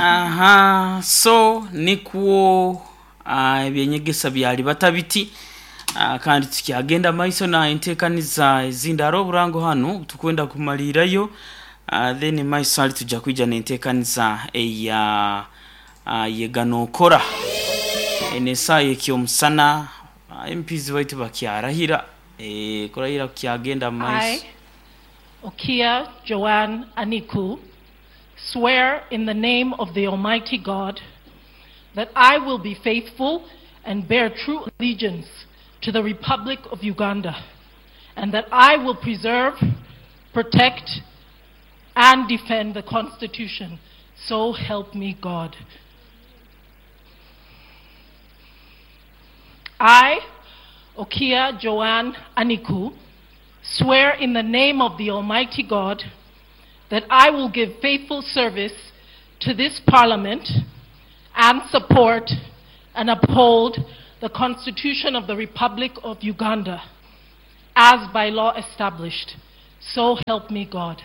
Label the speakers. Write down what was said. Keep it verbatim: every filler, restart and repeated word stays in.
Speaker 1: Aha, so nikwo uh, ebyenyegesa byali batabiti. uh, kandi tukyagenda maiso na enteekaniza ezindi. Hariho oburango hanu tukwenda kumalirayo, uh, then maiso hali tujja kwija n'enteekaniza eya uh, yega nookora. Eno esaaha ekyomusana, uh, M Ps baitu bakyarahira, e, kurahira kukyagenda mu
Speaker 2: I,
Speaker 1: maiso.
Speaker 2: Okia Joanne Aniku, swear in the name of the Almighty God that I will be faithful and bear true allegiance to the Republic of Uganda, and that I will preserve, protect, and defend the Constitution. So help me God. I, Okia Joanne Aniku, swear in the name of the Almighty God that I will give faithful service to this Parliament and support and uphold the Constitution of the Republic of Uganda as by law established. So help me God.